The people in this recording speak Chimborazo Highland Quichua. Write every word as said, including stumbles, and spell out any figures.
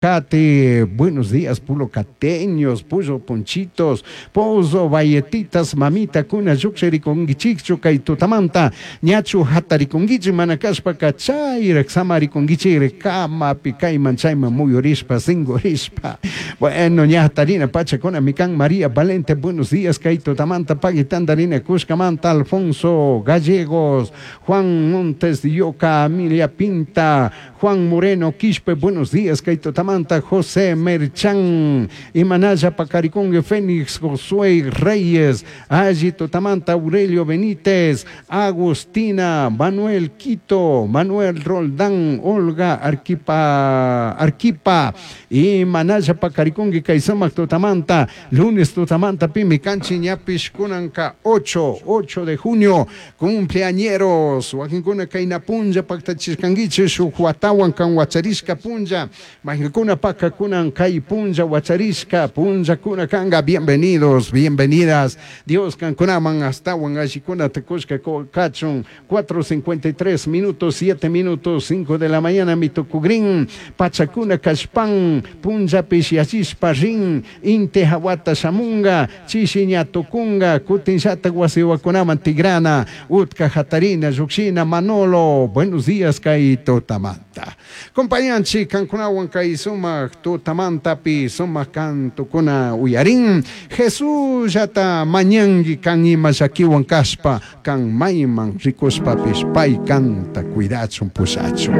Cate, buenos días, pulocateños, Puyo Ponchitos, Pozo, Valletitas, mamita kuna llukshirikunkichikchu kay tutamanta, ñachu hatarikunkichik mana kashpaka chayrak samarikunkichik kamapi kayman chayman muyurishpa singurishpa. Bueno, ña hatarina pachakunami kan. María Valente, buenos días, kay tutamanta pagui tandarina kushkamanta, Alfonso Gallegos, Juan Montes de Yoca, Amelia Pinta, Juan Moreno Quispe, buenos días, kay tutamanta, José Merchan, Imanaya Pacaricongue, Fénix Josué Reyes, Alli Tutamanta, Aurelio Benítez, Agustina, Manuel Quito, Manuel Roldán, Olga Arquipa, Arquipa, Imanaya Pacaricongue, Kaisamak Tutamanta, lunes Tutamanta, Pimi Canchi, Ñapish, Kunanka, ocho, ocho de junio, cumpleañeros, Wakinkuna Kaina Punja, Pactachiscanguiche, Shuhuatawan, Kanhuacharishka Punja, Majinkuna Paca Kunan Kai Punja, Huacharishka, Punja Kuna Kanga, bienvenidos, bienvenidas, Dios Kankunaman, Astawan, Ashikuna, Tekushka, Kachun, cuatro cincuenta y tres minutos, siete minutos, cinco de la mañana, Mitokugrin, Pachakuna, Kashpan, Punja, Pishiachispa, Rin, Inte, Hawata, Shamunga, Chishiña, Tukunga, Kutinshata, Guasihuakunaman, Tigrana, Utka, Jatarina, Yuxina, Manolo, buenos días, Kaito Tamanta. Compañanchi, Kankunawan, Kaisumak, Tutamantapi, Sumak, Kantukuna, Uyarin, Jesús, Yata, Mañangi, Kan, Ima, Shakiwan, Kaspa, Kan, Mayman, Rikuspapish, Pay, Kanta, Cuidachun, Pusachun.